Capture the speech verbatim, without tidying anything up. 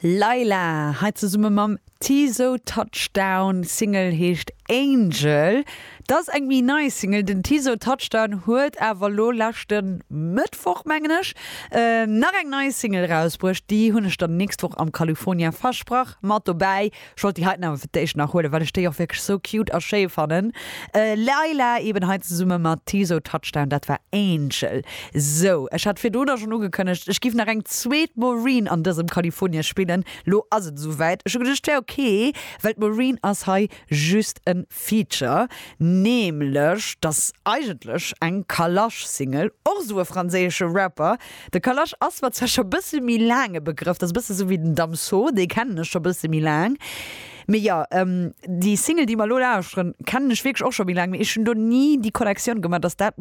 Lyla hei zesumme mam Teezo Touchdown Single heescht Angel. Dat ass eng méi nei Single den Teezo Touchdown huet awer lo leschte Mëttwoch mengen ech äh, nach eng nei Single rausbruecht déi hunn ech dann nächst Woch am California versprach mat dobäi ech wollt déi haut awer fir d'éischt nach huelen well ech déi och wierklech sou cute a schéi fannen äh, Lyla eben hei zesumme mat Teezo Touchdown dat war Angel sou ech hat virdrun schonn ugekënnegt ech géif nach eng zweet Maureen an dësem California spillen lo ass et souwäit ech hu geduecht wär okay well d'Maureen ass hei just en Feature nämlech dat eigentlech eng Kalash Single och sou e franséische Rapper de Kalash ass mer zwar scho bësse méi laang e Begrëff dat ass bësse sou wéi den Damso dee kennen ech scho bësse méi laang mee jo ähm, déi Single déi mer lo lauschteren kennen ech wierklech och scho méi laang mee ech hunn do ni déi Connectioun gemaach dass dat